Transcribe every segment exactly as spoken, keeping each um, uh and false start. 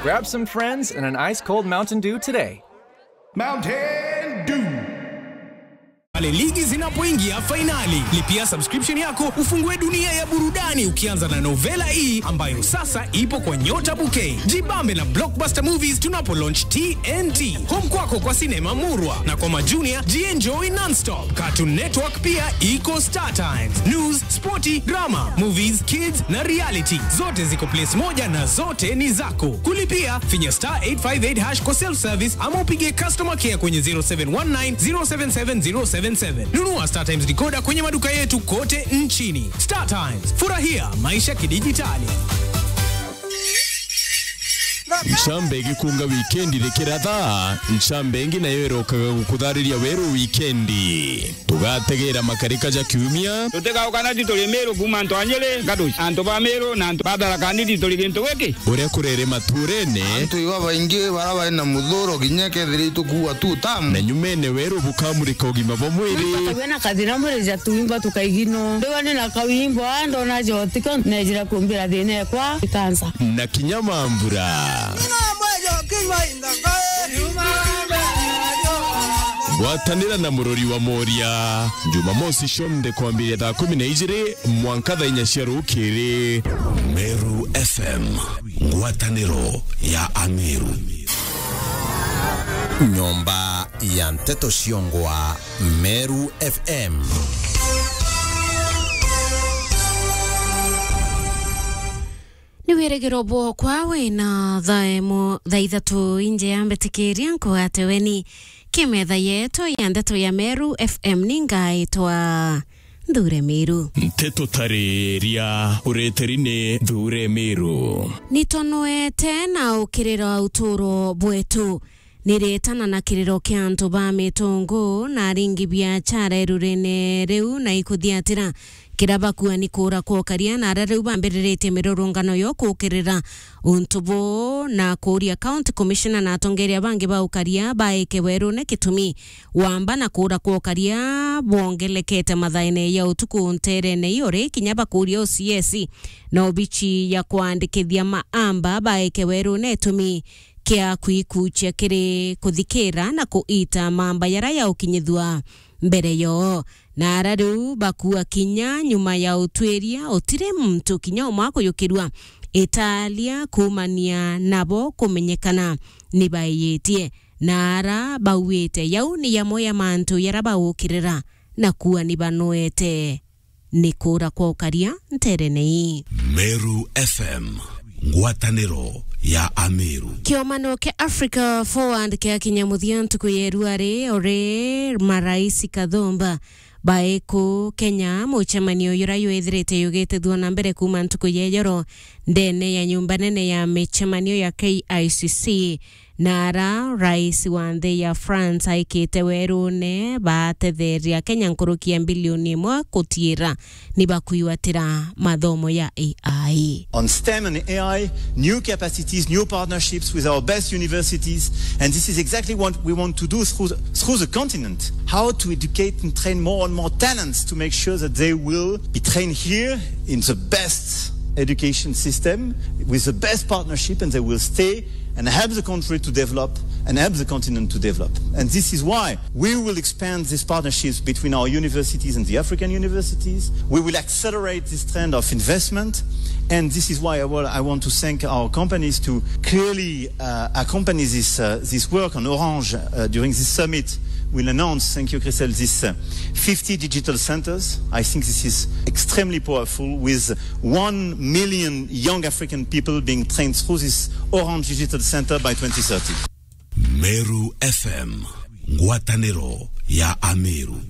Grab some friends and an ice cold Mountain Dew today. Mountain Dew. Pale ligi zinapoingia fainali, lipia subscription yako ufungue dunia ya burudani, ukianza na Novela E ambayo sasa ipo kwa Nyota Bouquet. Jibambe na Blockbuster Movies tunapo launch T N T. Home kwako kwa sinema murwa na kwa majunia, jienjoy nonstop. Cartoon Network pia iko Star Times. News, sporti, drama, movies, kids na reality. Zote ziko place moja na zote ni zako. Kulipia, finya star eight five eight hash kwa self service ama upige customer care kwenye zero seven one nine zero seven seven zero seven seven. Nunua Star Times decoder kwenye maduka yetu kote nchini. Star Times, furahia maisha kidijitali. Ncambe igikunga wikendi rikiratha, ncambe ingi nayo irokaga gukuthariria weru wikendi. Tugategera makarika ja kiumia. Tutigauka na tituri Miru kuuma antu a Nyeri, Gaduci, antu ba Miru na antu ba Tharaka Nithi turi gintu giki. Uria kurere maturene. Antu iba baingi bara bari na muthuro kinya kethira itukuua tu tamu. Na nyumene weru bukamurika ugima bwa mwiri. Wina kathina mwiri ja tuimba tukaigino. Ndiwa ni na kawimbo, ndona jotiko, nejira kumbira thina ekwa ikansa. Na kinya mambura. Ngwatanira na murori wa Moria. Jumamosi cionthe kwambiria thaa kumi na ijiri mwanka thaa inya cia rukiri. Meru F M, ngwataniro ya Ameru. Nyomba ya nteto ciongwa, Meru F M. Ni wirigiro bwokwa wina thaa imo, thaa ithatu inje ya mbitikiria nkwate weni kimetha yetu ya ndeto ya Meru F M. Ni ngaitwa Nthure Miru. Nteto tariria ureteri ni Nthure Miru. Nitonoete na ukirira uturo bwetu. Niretana na kiriro kia antu ba mitungu na aringi biachara irurene riu na ikuthiatira kira bakua ni kuura kwa ukaria, na aria riu bambiriritie mirurungano yo kukirira untu buu na kuuria County Commissioner na atongeria bangi ba ukaria baike werune gitumi wamba na kuura kwa ukaria bwongelekete mathaene ya utuku nterene iyo ri kinya bakuuria O C S na obichi ya kwandikithia maamba baike werune itumi kia kwikuchia kiri kuthikira na kuita mamba yara ya ukinyithua mbere yoo. Na ara riu bakua kinya nyuma ya utwiria, utiri muntu kinya umwe akuyukirua italia kuumania nabo kumenyekana ni baiyitie. Na ara bauite yau ni yamwe ya mantu yara baukirira na kua ni banoete ni kuura kwa ukaria nterene ii. Meru F M, ngwataniro ya Ameru. Kiomano kia Africa Forward kiakinya muthia ntuku ya irua ri, uri marais kathumba baiku Kenya, mucemanio jura jwithirite jugitithua na mbere kuuma ntuku ya ijoro ndene ya nyumba nene ya micemanio ya K I C C. Na ara rais wa nthi ya France aikite werune batetheria Kenya nkuruki ya mbilioni imwe kutiira ni bakwigwatira mathomo ya A I. On STEM and A I, new capacities, new partnerships with our best universities, and this is exactly what we want to do through the, through the continent. How to educate and train more and more talents to make sure that they will be trained here in the best education system with the best partnership, and they will stay and help the country to develop and help the continent to develop. And this is why we will expand these partnerships between our universities and the African universities. We will accelerate this trend of investment. And this is why I wa-, I want to thank our companies to clearly, uh, accompany this, uh, this work on Orange, uh, during this summit. We'll announce, thank you, Christelle, this, uh, fifty digital centers. I think this is extremely powerful, with one million young African people being trained through this Orange Digital Center by twenty thirty. Meru F M, ngwataniro ya Ameru.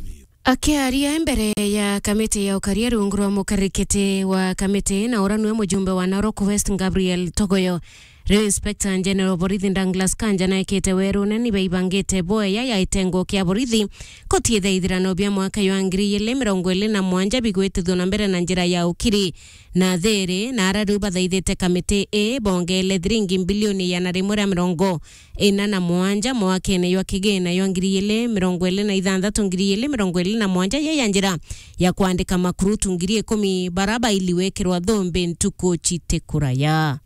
Akiaria mbere ya kamiti ya ukaria rungu rwa mukarikiti wa kamiti na ura niwe mujumbe wa Narok West Gabriel Togoyo, riu Inspector General borithi Douglas Kanja naikite werune ni baibangite boya ya itengo kia borithi kutiitha ithirano bia mwaka jwa ngiri igiri mirongo iri na mwanja bigwitithua na mbere na njira ya ukiri na thiri, na ara riu bathaithite kamiti ii bongele thiringi mbilioni igana rimwe ria mirongo ina na mwanja mwakene jwa kigina jwa ngiri igiri mirongo iri na ithanthatu, ngiri igiri mirongo iri na mwanja, ya, ya njira ya kwandika makurutu ngiri ikumi bara baili wekirwa thumbi ntuku citikuraya.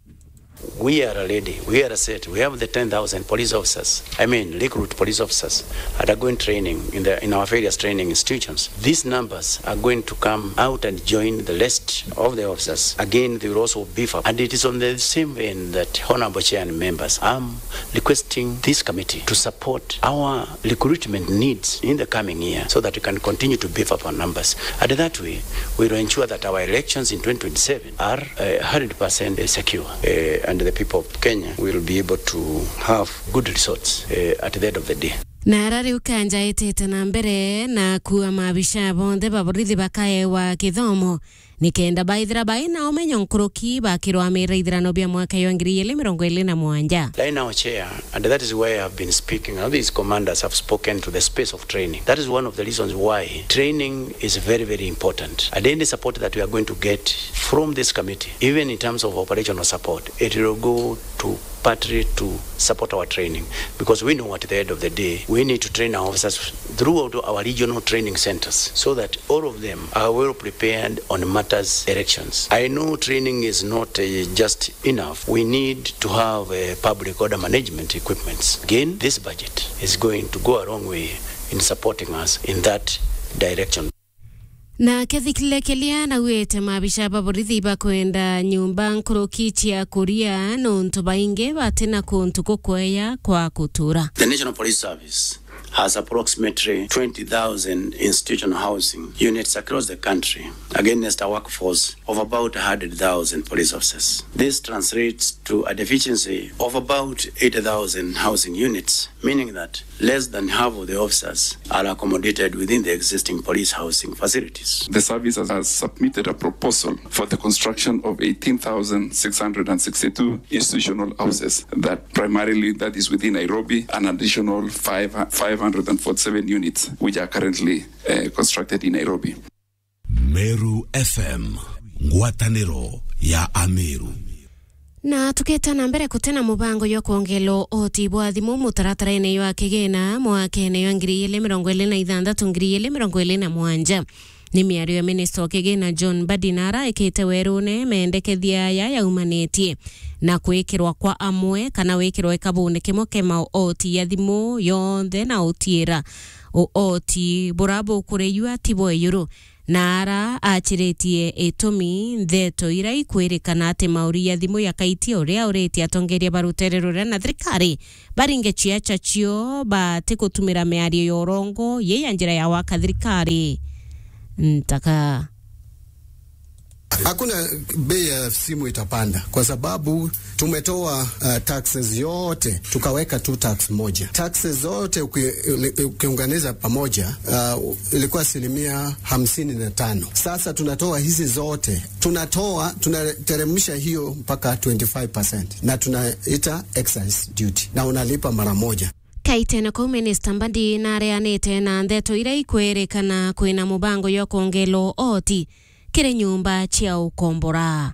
We are ready. We are set. We have the ten thousand police officers. I mean, recruit police officers undergoing training in the, in our various training institutions. These numbers are going to come out and join the list of the officers. Again, they will also beef up. And it is on the same vein that, Honorable Chair and members, I'm requesting this committee to support our recruitment needs in the coming year so that we can continue to beef up our numbers. And that way, we will ensure that our elections in twenty twenty-seven are, uh, hundred percent secure, uh, and the people of Kenya will be able to have good results, uh, at the end of the day. Na ara riu Kanja itite na mbere na kuua maabisha bonthe ba borithi bakaewa kithomo, nikenda baithira bai na umenyo nkuruki bakirwamira ithirano bia mwaka jwa ngiri igiri mirongo iri na mugwanja. Right now, Chair, and that is why I've been speaking, how these commanders have spoken to the space of training. That is one of the reasons why training is very, very important. And any support that we are going to get from this committee, even in terms of operational support, it will go to partly to support our training, because we know at the end of the day, we need to train our officers throughout our regional training centers so that all of them are well prepared on matters elections. I know training is not, uh, just enough. We need to have, uh, public order management equipments. Again, this budget is going to go a long way in supporting us in that direction. Nake Thikile Kelia naugite maabisha ba borithi bakwenda nyumba nkuruki cia kuria nontu baingi batina kuntu gukweya kwa gutura. The National Police Service has approximately twenty thousand institutional housing units across the country against a workforce of about a hundred thousand police officers. This translates to a deficiency of about eighty thousand housing units, meaning that less than half of the officers are accommodated within the existing police housing facilities. The service has, has submitted a proposal for the construction of eighteen thousand six hundred and sixty-two institutional houses that primarily that is within Nairobi, an additional five, five hundred and forty-seven units which are currently, uh, constructed in Nairobi. Meru F M, ngwatanĩro ya Ameru. Na tuketa na mbere, kutena mubango jwa kwongela oti bwa thimu mutaratara-ini jwa kigina mwakene jwa ngiri igiri mirongo iri na ithanthatu, ngiri igiri mirongo iri na mugwanja. Ni miario ya minista wa kigina John Mbadi na ara ekite werune mendekethia aya yaumanitie na kwikirwa kwa amwe kana wikirwa ikabune kimwe kia maoti ya thimu yonthe na utiira uoti bura bukurejua ti bwa ijuru. Na ara achiritie itumi ntheto ira ikwirikana ati mauri ya thimu ya Kaiti uria uritie atongeria ba rutere ruria na thirikari baringe ciaca cio bati gutumira miario ya urongo yi ya njira ya waka thirikari ntaka. Hakuna bei ya simu itapanda kwa sababu tumetoa, uh, taxes yote, tukaweka tu tax moja. Taxes zote uki-, ukiunganiza pamoja, uh, ilikuwa asilimia hamsini na tano. Sasa tunatoa hizi zote, tunatoa, tunateremsha hiyo mpaka twenty-five percent, na tunaita excise duty, na unalipa mara moja. Kaitene kuu, Minista Mbadi nareanite na ndeto iria ikwirikana kwina mubango jwa kwongela oti kiri nyumba cia ukombora.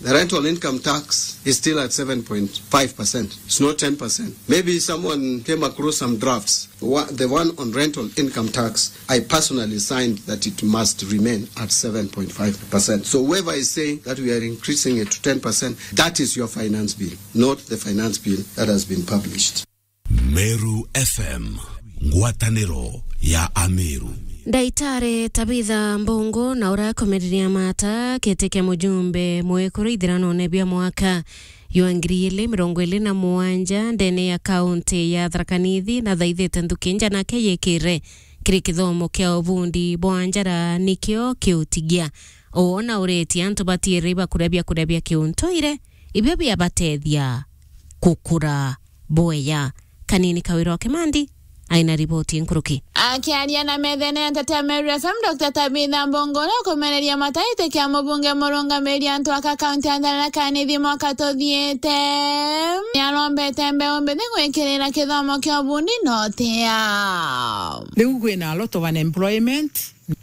The rental income tax is still at seven point five percent. It's not ten percent. Maybe someone came across some drafts. Wa-, the one on rental income tax, I personally signed that it must remain at seven point five percent. So whoever is saying that we are increasing it to ten percent, that is your finance bill, not the finance bill that has been published. Meru F M, ngwatanĩro ya Ameru. Ndaitari Tabitha Mbungu na urakomereria mata kiti kia mujumbe mwekuru ithiranone bia mwaka jwa ngiri igiri mirongo iri na mugwanja ndene ya kaunti ya Tharaka Nithi na thaithite nthuki nja nake yikire kiri kithomo kia ubundi bwa njara nikio kiutigia. Uona uritie antu batiiri bakuria biakuria bia kiuntuire ibio biabatethia gukura bwega. Kanini Kawira wa Kimandi aina riboti nkuruki. Akiaria na methene ya nteto ya Meru F M, Doctor Tabitha Mbungu, uria ukumereria mata giti kia mubunge murungamiri antu aka kaunti ya Tharaka Nithi mwaka tuthiite, niarombete mbeu mbithi gwikirira kithomo kia ubundi na utia. Riu kwina a lot of unemployment.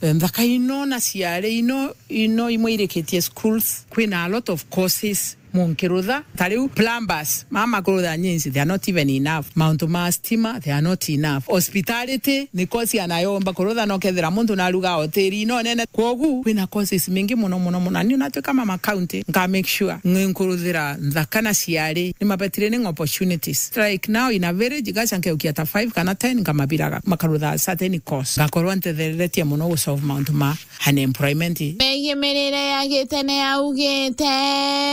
Nthaka ino na ciari ino, ino imwe irikitie schools, kwina a lot of courses Munkirutha, ta riu plumbers, mama kurutha nyinci, they are not even enough. Mauntu ma stima, they are not enough. Hospitality, ni kosi anayomba kurutha, no kethira muntu naruga hoteli ino nene. Kwogu, kwina courses mingi muno, muno, muno. Na ni unatuika mama county, nka make sure nkuruthira nthaka na ciari, ni mabetire ni opportunities. Like now in a village, gacha nkeukia ta five kana ten, nkamabiraga, makarutha certain course. Ngakorwa ntethereretie muno gu solve mauntu ma unemployment. Megie mirire ya gitene augite.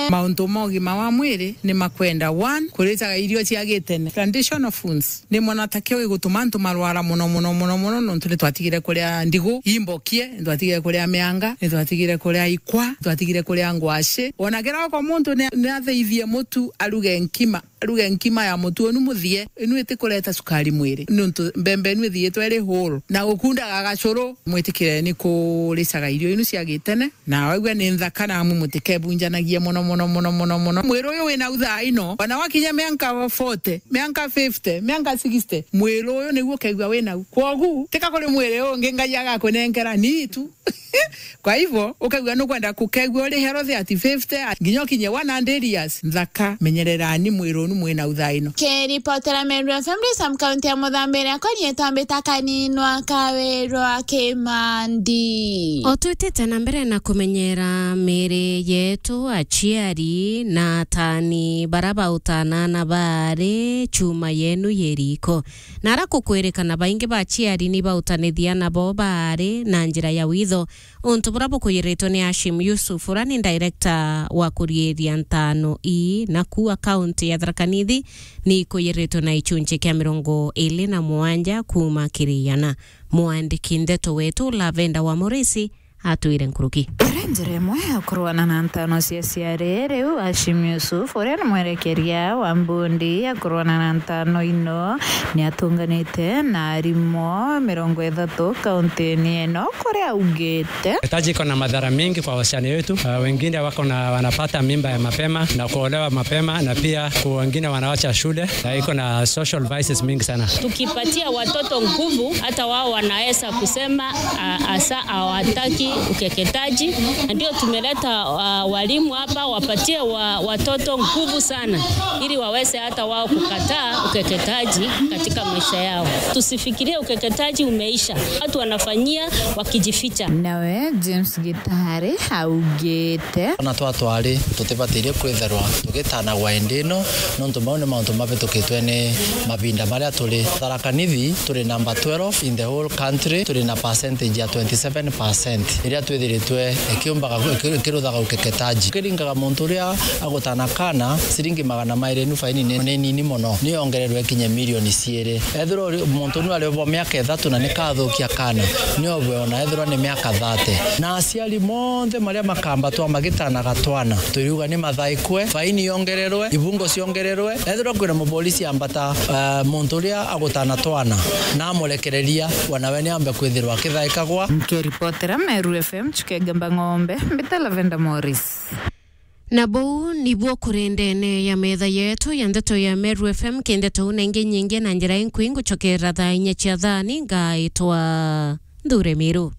Mauntu ma ugima wa mwiri ni makwenda, one, kuritaga irio cia gitene, traditional foods. Ni mona ta kio gigutuma antu marwara muno, muno, muno, muno, nontu ni twatigire kuria ndigu imbokie, ni twatigire kuria mianga, ni twatigire kuria ikwa, ni twatigire kuria ngwaci. Ona kiroko muntu ni, ni atheithie mutu aruge nkima, aruge nkima ya mutu unu muthie, inu itikureta cukari mwiri, nontu mbembe inu ithiitwe iri whole. Na gukundaga gacuru, mwitikireni kuricaga irio inu cia gitene, na waigua ni nthaka, na amwe mutikebunjanagie muno, muno, muno, muno, muno. Mwiri uyu wina u thaa ino, ona wakinya mianka forty, mianka fifty, mianka sixty, mwiri uyu niguo ukaigua wina u. Kwogu, tika kuri mwiri ungi Ngai agakunenkera, ni itu. Kwa hivyo, ukaigua nukwenda kukegua uri healthy at fifty, nginya ukinye one hundred years, nthaka, menyererani mwiri unu mwina u thaa ino. Kiripotera Meru F M Sam, kaunti ya Muthambiria, akwa nietwa Mbita Kaninwa Kawirwa Kimandi. O twitite na mbere na kumenyera miri yetu, aciari na atani bara bautanana baari chuma yenu ye riko. Na ara kukwirikana baingi ba aciari ni bautanithia nabo baari na njira ya witho. Untu bura bukuyiritwe ni Hashim Yusuf, ura ni director wa kuriiria ntaano ii, na kuu akaunti ya Tharaka Nithi ni ikuyiritwe na ichunchi kia mirongo iri na mugwanja kuuma kiri igana. Mwandiki ndeto wetu Lavenda wa Morisi atwire nkuruki. Iri njira imwe ya kurwana na ntaano cia aciari, riu Hashim Yusuf, uria ni mwerekeria wa mbundi ya kurwana na ntaano ino, ni atunganite na arimu mirongo ithatu kauntini ino, kuria augite. Taji iko na madhara mengi kwa wasichana wetu. Uh, wengine wako na, wanapata mimba ya mapema na kuolewa mapema, na pia ku-, wengine wanawacha shule, na iko na social vices mingi sana. Tukipatia watoto nguvu, hata wao wanaweza kusema, uh, hasa hawataki ukeketaji. Na ndio tumeleta, uh, walimu hapa wapatie wa-, watoto nguvu sana, ili waweze hata wao kukataa ukeketaji katika maisha yao. Tusifikirie ukeketaji umeisha. Watu wanafanyia wakijificha. Nawe James Gitari augite. Ona twatwari tutibatirie kwithirwa tugitanagwa indi ino, nontu mau ni mauntu mabitukitwe ni mavinda maria turi. Tharaka Nithi turi number twelve in the whole country, turi na percentage ya twenty seven percent iria twithiritwe ikiumbaga, iki-, ikiruthaga ukeketaji. Kiringaga muntu uria agutana kana, ciringi magana mairi, nu faini ni, ni nini mono, ni yongererwe ikinye milioni ciiri. Ethirwa uri, muntu nu ari bo miaka ithatu na ni kathukia kana, ni obwe ona ethirwa ni miaka thirty. Na aciari monthe maria makambatwa magitanaga twana, turiuga ni mathaikwe, faini yongererwe, ibungo ciongererwe. Ethirwa kwina mupolisi ambata, eh, muntu uria agutana twana, na amurekereria, wanawe ni ambe kwithirwa akithaikagwa. Nkiripotera Meru F M, Chukegamba Ng'ombe, mbita Lavenda Morris. Na buu nibuo kuri ndene ya metha yetu ya ndeto ya Meru F M, ki ndeto na ingi nyingi na njira inkui nguchokera thaa inya cia thani, ngaitwa Nthure Miru.